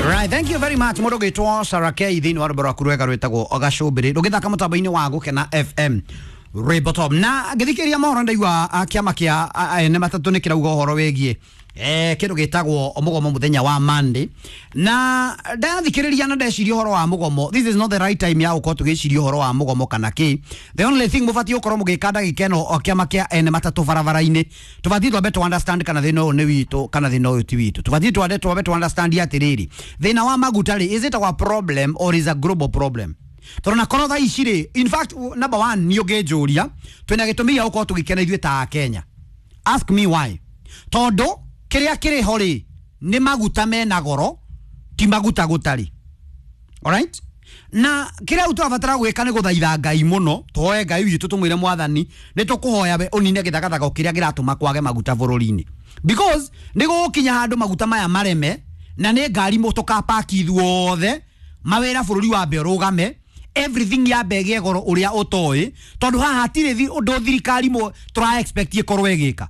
Right, thank you very much. Mũndũ ũgĩtwo Sarah K thĩinĩ wa rwĩmbo rwaku rwega rwĩtagwo Gacũmbĩrĩ rũgĩthaka mũtambo-inĩ wa Gũkena FM rwĩmbo top. Na ngĩthikĩrĩria mohoro ndaigua kĩama kĩa ene matatũ nĩ kĩrauga ũhoro wĩgiĩ kĩndũ gĩtagwo mũgomo mũthenya wa Monday. Na ndathikĩrĩria na ndeciria ũhoro wa mũgomo, this is not the right time ya gũkorwo tũgĩciria ũhoro wa mũgomo kana kĩ. The only thing mũbatiĩ gũkorwo mũgĩka ndagĩka ĩno o kĩama kĩa ene matatũ barabara-inĩ, tũbatiĩ twambe tũ understand kana thĩna ũyũ nĩ witũ kana thĩna ũyũ ti witũ. Tũbatiĩ twambe tũ understand atĩrĩrĩ, thĩna wa maguta rĩ, is it our problem or is a global problem? Tondũ na korwo thaa ici rĩ, in fact number one nĩ ũngĩnjũria twĩna gĩtũmi gĩa gũkorwo tũgĩkena ithuĩ ta Akenya. Ask me why. Tondũ kĩrĩa kĩrĩ ho rĩ nĩ maguta mena goro, ti maguta gũtarĩ. Alright? Na kĩrĩa rĩu tũrabatara gwĩka nĩ gũthaitha Ngai mũno, tũhoe Ngai witũ tũmwĩre Mwathani nĩ tũkũhoya we ũnine gĩthagathago kĩrĩa kĩratũma kwage maguta bũrũri-inĩ. Because nĩ gũgũkinya handũ maguta maya mareme na nĩ ngari tũkapaki ithuothe, mawĩra bũrũri wambe ũrũgame, everything yambe ĩgĩe goro ũrĩa ũtoĩ, tondũ haha hatirĩ ũndũ thirikari tũra expect ĩkorwo ĩgĩka.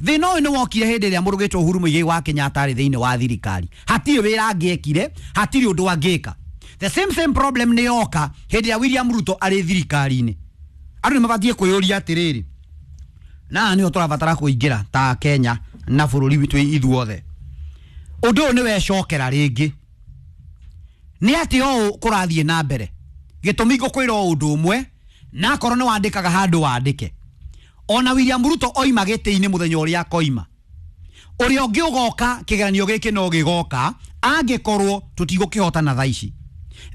Thĩna ũyũ nĩ wokire hĩndĩ ĩrĩa mũndũ ũgĩtwo Uhuru Muigai wa Kenyatta arĩ thĩinĩ wa thirikari. Hatirĩ wĩra angĩekire, hatirĩ ũndũ angĩka. The same problem nĩ yoka hĩndĩ ya William Ruto arĩ thirikari-inĩ. Andũ nĩ mabatiĩ kwĩyũria atĩrĩrĩ, na nĩho tũrabatara kũingĩra ta Kenya na bũrũri witũ ithuothe. Ũndũ ũyũ nĩ wecokera rĩngĩ. Nĩ atĩ ũũ kũrathiĩ na mbere. Gĩtũmi ngũkwĩra o ũndũ ũmwe, na akorwo nĩ wandĩkaga handũ wandĩke. Ona William Ruto oima gĩtĩ-inĩ mũthenya ũrĩa akoima, ũrĩa ũngĩ ũgoka kĩgeranio gĩkĩ no gĩgoka angĩkorwo tũtigũkĩhotana thaa ici.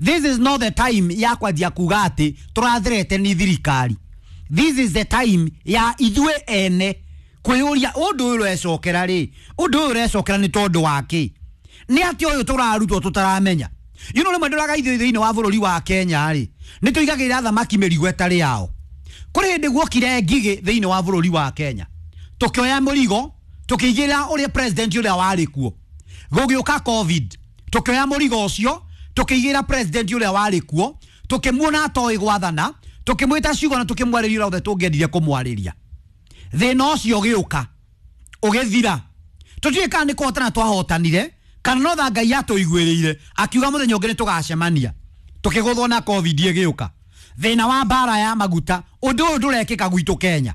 This is not the time ya kwanjia kuga atĩ tũrathirete ni thirikari. This is the time ya ithuĩ ene kwĩyũria ũndũ ũyũ ũrecokera rĩ, ũndũ ũyũ ũrecokera nĩ tondũ wa kĩ? Nĩ atĩ ũyũ tũrarutwo tũtaramenya. You know, rĩmwe ndũraga ithuĩ thĩinĩ wa bũrũri wa Kenya rĩ, nĩ tũigagĩrĩra thamaki mĩrigo ĩtarĩ yao. Kũrĩ hĩndĩ guokire ngigĩ thĩinĩ wa bũrũri wa Kenya, tũkĩoya mũrigo tũkĩigĩrĩra ũrĩa president ũrĩa warĩ kuo. Gũgĩũka COVID, tũkĩoya mũrigo ũcio tũkĩigĩrĩra president ũrĩa warĩ kuo, tũkĩmuona atoĩ gwathana, tũkĩmwĩta ciugo na tũkĩmwarĩria ũrĩa othe tũngĩendire kũmwarĩria. Thĩna ũcio ũgĩũka ũgĩthira. Tũtiũĩ kana nĩ kũhotana twahotanire kana no tha Ngai atũiguĩrĩire akiuga mũthenya ũngĩ nĩ tũgacemania. Tũkĩgũthwo na COVID ĩgĩũka. Thĩna wa mbara ya maguta, ũndũ ũyũ ndũrekĩka gwitũ Kenya.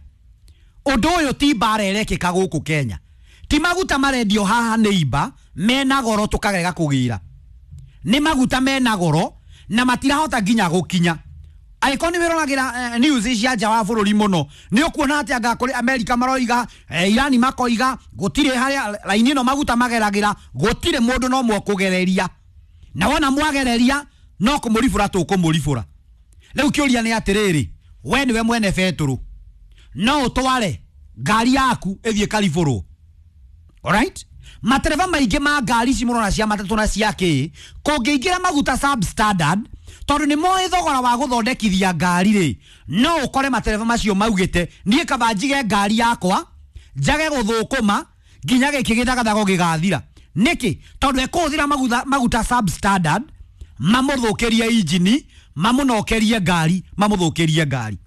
Ũndũ ũyũ ti mbara ĩrekĩka gũkũ Kenya. Ti maguta marendio haha nĩ imba mena goro tũkarega kũgĩra. Nĩ maguta mena goro na matirahota nginya gũkinya. Angĩkorwo nĩ wĩroragĩra news cia nja wa bũrũri mũno, nĩ ũkuona atĩ anga kũrĩ America maroiga, Irani makoiga, gũtirĩ harĩa raini ĩno maguta mageragĩra, gũtirĩ mũndũ no mwekũgereria. Na wona mwagereria no kũmũribũra tũkũmũribũra. Rĩu kĩũria nĩ atĩrĩrĩ, we nĩwe mwene betũrũ, no ũtware ngari yaku ĩthiĩ karibũrwo. Alright? Matereba maingĩ ma ngari ici mũrona cia matatũ na cia kĩ, kũngĩingĩra maguta substandard, tondũ nĩ moĩ thogora wa gũthondekithia ngari rĩ, no ũkore matereba macio maugĩte niĩ kaba njige ngari yakwa njage gũthũkũma nginya gĩkĩ gĩthagathago gĩgathira. Nĩkĩ? Tondũ ekũhũthĩra maguta substandard, mamũthũkĩrie injini, mamũnokerie ngari, mamũthũkĩrie ngari.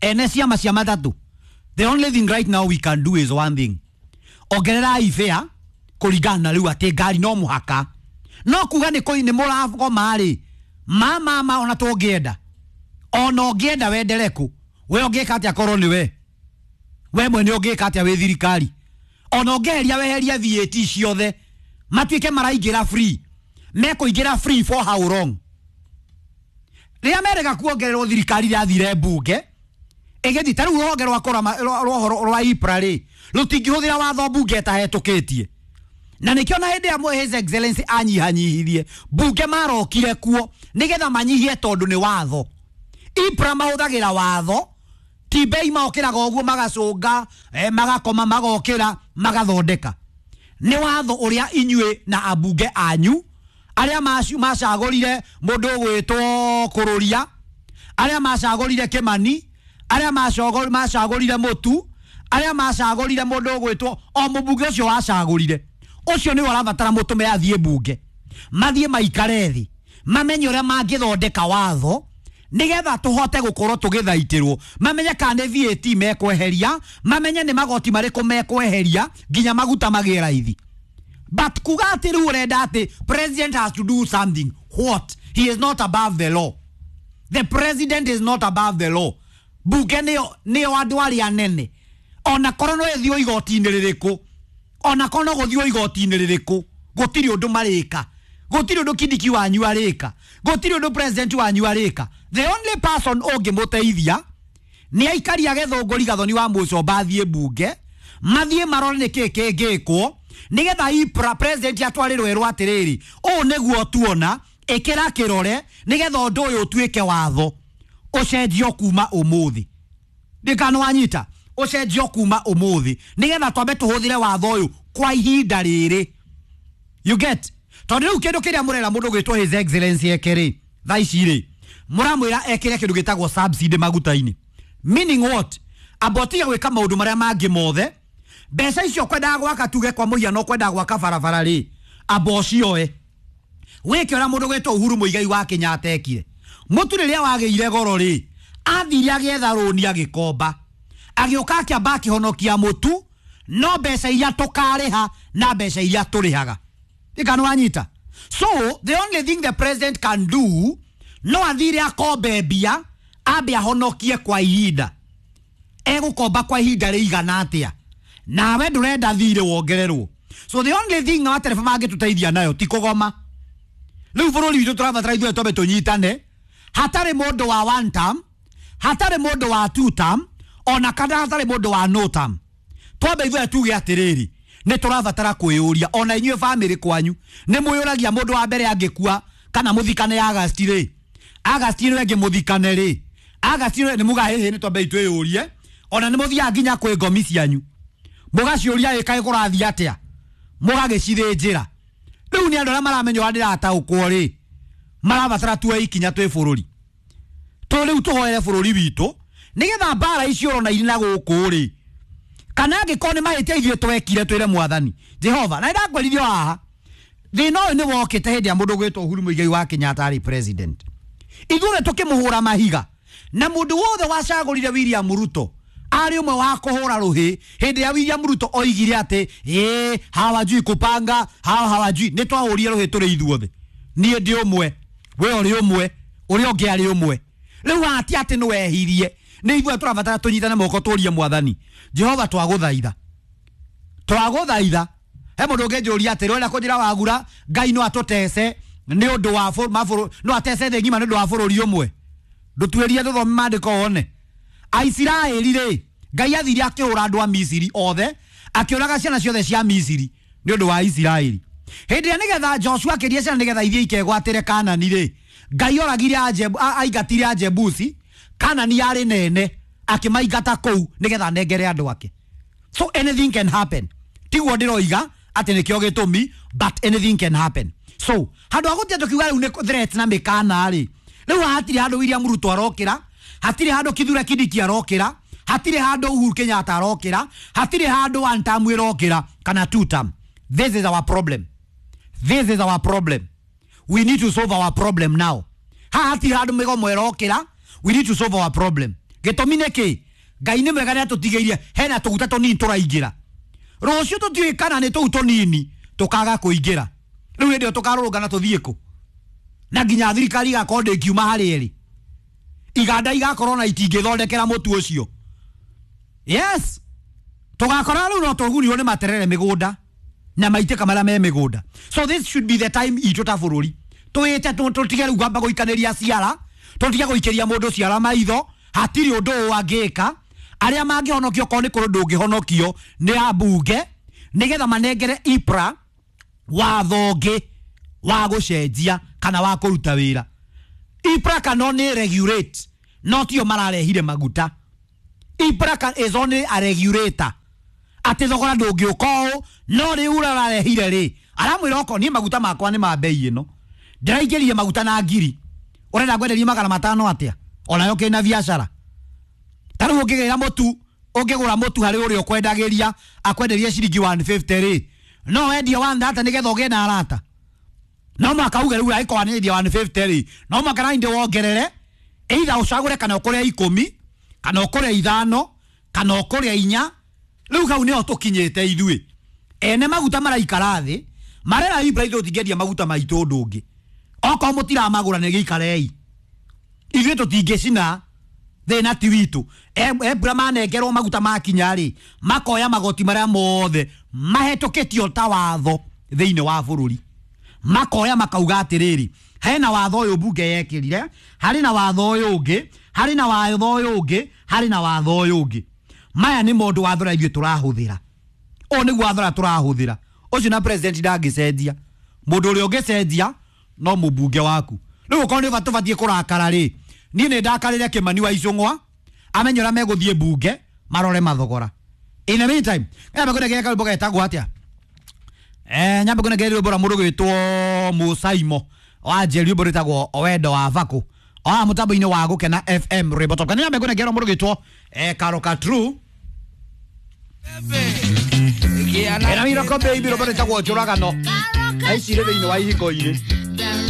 Ene ciama cia matatũ, the only thing right now we can do is one thing. Ongererai fare kũringana na rĩu atĩ ngari no mũhaka. No kuga nĩ kũi nĩ mũragoma rĩ, ma ona tũngĩenda. Ona ũngĩenda wendere kũ, we ũngĩka atĩa korwo nĩ we? We mwene ũngĩka atĩa wĩ thirikari? Ona ũngĩeheria weherie VAT ciothe, matuĩke maraingĩra free. Mekũingĩra free for how long? Rĩrĩa merega kuongererwo thirikari ĩrathire mbunge, ĩgĩthiĩ ta rĩu rũhonge rwa kũrama, rwa rwa IPRA rĩ, rũtingĩhũthĩra watho mbunge ĩtahetũkĩtie. Na nĩkĩo na hĩndĩ ya His Excellency anyihanyihirie, mbunge marokire kuo nĩgetha manyihie tondũ nĩ watho. IPRA mahũthagĩra watho, ti bei maokĩraga ũguo magacũnga, magakoma, magokĩra, magathondeka. Nĩ watho ũrĩa inyuĩ na ambunge anyu arĩa macagũrire mũndũ ũgwĩtwo Kũrũria, arĩa macagũrire Kĩmani, arĩa macagũrire Mũtu, arĩa macagũrire mũndũ ũgwĩtwo o mũmbunge ũcio wacagũrire, ũcio nĩwe ũrabatara mũtũme athiĩ mbunge, mathiĩ maikare thĩ, mamenye ũrĩa mangĩthondeka watho nĩgetha tũhote gũkorwo tũgĩthaitĩrwo, mamenye kana nĩ VAT mekweheria, mamenye nĩ magoti marĩkũ mekweheria nginya maguta magĩe raithi. But kuga atĩ rĩu ũrenda atĩ president has to do something. What? He is not above the law. The president is not above the law. Bunge nĩyo andũ arĩa anene. Ona korwo no ĩthiĩ igoti-inĩ rĩrĩkũ, ona korwo no gũthiĩ igoti-inĩ rĩrĩkũ, gũtirĩ ũndũ marĩka, gũtirĩ ũndũ Kindiki wanyu arĩka, gũtirĩ ũndũ president wanyu arĩka. The only person ũngĩmũteithia nĩ aikari a Gĩthũngũri Gathoni wa Mũcomba athiĩ bunge, mathiĩ marore nĩkĩ kĩngĩkwo nĩgetha IPRA president atwarĩrwo erwo atĩrĩrĩ, ũũ nĩguo tuona, ĩkĩra kĩrore nĩgetha ũndũ ũyũ ũtuĩke watho, ũcenjio kuma ũmũthĩ. Ndikana wanyita, ũcenjio kuma ũmũthĩ nĩgetha twambe tũhũthĩre watho ũyũ kwa ihinda rĩrĩ. You get? Tondũ rĩu kĩndũ kĩrĩa mũrera mũndũ gwĩtwo His Excellency eke rĩ, thaa ici rĩ, mũramwĩra ekĩre kĩndũ gĩtagwo subsidy maguta-inĩ. Meaning what? Amba ũtige gwĩka maũndũ marĩa mangĩ mothe. Mbeca icio kwendaga gwaka, tuge kwa mũhiano kwendaga gwaka barabara rĩ, amba ũcioe wĩke ũrĩa mũndũ gwĩtwo Uhuru Muigai wa Kenyatta ekire. Mũtu rĩrĩa wagĩire goro rĩ, athire agĩetha rũni agĩkomba, agĩũka akĩamba akĩhonokia mũtu, no mbeca iria tũkarĩha na mbeca iria tũrĩhaga. Ĩka nĩ wanyita? So the only thing the president can do, no athire akombe mbia, ambe ahonokie kwa ihinda. Egũkomba kwa ihinda rĩigana atĩa? Nawe ndũrenda thirĩ wongererwo. So the only thing matereba mangĩtũteithia nayo ti kũgoma. Rĩu bũrũri witũ tũrabatara ithuĩ twambe tũnyitane, hatarĩ mũndũ wa one term, hatarĩ mũndũ wa two term, ona kana hatarĩ mũndũ wa no term. Twambe ithuĩ tuge atĩrĩrĩ, nĩ tũrabatara kwĩyũria, ona inyuĩ bamĩrĩ kwanyu nĩ mwĩyũragia mũndũ wa mbere angĩkua kana mũthikane Agasti rĩ, Agasti nĩwe ngĩmũthikane rĩ, Agasti nĩ muga hĩhĩ, nĩ twambe twĩyũrie, ona nĩ mũthiaga nginya kwĩ ngomi cianyu mũgaciũria ĩkaĩ kũrathiĩ atĩa, mũgagĩcithĩnjĩra. Rĩu nĩ andũ arĩa maramenya ũrĩa ndĩrataũkwo rĩ, marabatara tuoe ikinya twĩ bũrũri. Tũ rĩu tũhoere bũrũri witũ nĩgetha mbara icio ũrona irĩ na gũkũ rĩ, kana angĩkorwo nĩ mahĩtia ithuĩ twekire twĩre mwathani Jehova. Na nĩndakwĩrithio haha, thĩna ũyũ nĩ wokĩte hĩndĩ ya mũndũ gwĩtwo Uhuru Muigai wa Kenyatta arĩ president. Ithuothe tũkĩmũhũra mahiga, na mũndũ wothe wacagũrire William Ruto arĩ ũmwe wa kũhũra rũhĩ hĩndĩ ya William Ruto oigire atĩ ĩĩ hawajui kupanga, hawa hawajui. Nĩ twahũrire rũhĩ tũrĩ ithuothe, niĩ ndĩ ũmwe, we ũrĩ ũmwe, ũrĩa ũngĩ arĩ ũmwe. Rĩu haha ti atĩ nĩ wehirie, nĩ ithuĩ tũrabatara tũnyitane moko tũrie mwathani Jehova, twagũthaitha, twagũthaitha. He mũndũ ũngĩnjũria atĩrĩ, ũrenda kũnjĩra wagura Ngai no atũtece nĩ ũndũ wa no atece thĩ ng'ima nĩ ũndũ wa bũrũri ũmwe? Ndũtuĩrie tũthome maandĩko wone. Aisiraeli rĩ, Ngai athire akĩhũra andũ a Misiri othe, akĩũraga ciana ciothe cia Misiri nĩ ũndũ wa Isiraeli. Hĩndĩ ĩrĩa nĩgetha Joshua akĩria ciana nĩgetha ithiĩ ikegwatĩre Kanani rĩ, Ngai oragire aingatire Ajebusi, Kanani yarĩ nene, akĩmaingata kũu nĩgetha anengere andũ ake. So anything can happen. Tiguo ndĩroiga atĩ nĩkĩo gĩtũmi, but anything can happen. So handũ ha gũthiĩ tũkiuga rĩu nĩ threats na mĩkana rĩ, rĩu hatirĩ handũ William Ruto arokĩra, hatirĩ handũ Kithure Kindiki arokĩra, hatirĩ handũ Uhuru Kenyatta arokĩra, hatirĩ handũ one term ĩrokĩra kana two term. This is our problem. This is our problem. We need to solve our problem now. Haha hatirĩ handũ mĩgomo ĩrokĩra, we need to solve our problem. Gĩtũmi nĩ kĩ? Ngai nĩ mwega nĩ atũtigĩirie hena tũguta tũnini tũraingĩra. Rũciũ tũtiũĩ kana nĩ tũu tũnini tũkaga kũingĩra. Rĩu hĩndĩ ĩyo tũkarũrũngana tũthiĩ kũ? Na nginya thirikari igakorwo ndĩngiuma harĩ ĩrĩ. Iganda igakorwo na itingĩthondekera mũtu ũcio. Yes. Tũgakora rĩu no tũgunirwo nĩ materere mĩgũnda na maitĩka marĩa me mĩgũnda. So this should be the time itũ ta bũrũri twĩte tũtige rĩu kwamba gũikanĩria ciara, tũtige gũikĩria mũndũ ciara maitho. Hatirĩ ũndũ ũũ angĩka. Arĩa mangĩhonokio korwo nĩ kũrĩ ũndũ ũngĩhonokio nĩ ambunge nĩgetha manengere IPRA watho ũngĩ wa gũcenjia kana wa kũruta wĩra. IPRA can only regulate, no tio mararehire maguta. IPRA is only a regulator. Atĩ thogora ndũngĩũka ũũ, no rĩu ũrarehire rĩ, aramwĩra okorwo niĩ maguta makwa nĩ ma bei ĩno, ndĩraingĩria maguta na ngiri, ũrenda ngwenderie 500 atĩa? Onayo kĩna biacara. Ta rĩu ũngĩgĩra mũtu, ũngĩgũra mũtu harĩ ũrĩa ũkwendagĩria, akwenderie ciringi 150 rĩ, no wendie 130 nĩgetha ũgĩe na arata. No mũhaka uge rĩu angĩkorwo nĩendia 150 rĩ, no mũhaka na nĩ wongerere, either ũcagũre kana ũkũrĩa 10, kana ũkũrĩa 5, kana ũkũrĩa 4. Rĩu hau nĩho tũkinyĩte ithuĩ. Ene maguta maraikara thĩ, Marera Ibra ithuĩ tũtingĩendia maguta maitũ ũndũ ũngĩ. Okorwo mũtiramagũra nĩ gĩikarei. Ithuĩ tũtingĩcina thĩna ti witũ. Ebra manengerwo maguta makinya rĩ, makoya magoti marĩa mothe mahetũkĩtio ta watho thĩinĩ wa bũrũri. Makoya makauga atĩrĩrĩ, hena watho ũyũ mbunge yekĩrire, harĩ na watho ũyũ ũngĩ, harĩ na watho ũyũ ũngĩ, harĩ na watho ũyũ ũngĩ. Maya nĩ maũndũ watho ũrĩa ithuĩ tũrahũthĩra. Ũyũ nĩguo watho ũrĩa tũrahũthĩra. Ũcio na president ndangĩcenjia. Mũndũ ũrĩa ũngĩcenjia no mũmbunge waku. Rĩu okorwo nĩ tũbatiĩ kũrakara rĩ, niĩ nĩ ndakarĩre Kĩmani wa Icũng'wa, amenye ũrĩa megũthiĩ mbunge marore mathogora. In the meantime, nyambe kũnengera karwĩmbo getagwo atĩa? Nyambe kũnengera rwĩmbo rwa mũndũ gwĩtwo Mũsaimo wa Njeri, rwĩmbo rwĩtagwo Wendo wa Bakũ. Oa mũtambo-inĩ wa Gũkena FM rwĩmbo top. Kana nyambe kũnengera mũndũ gwĩtwo Karoka True. Ena Miracle Baby rwĩmbo rwĩtagwo Njũragano. Aicire thĩinĩ wa ihingo-inĩ.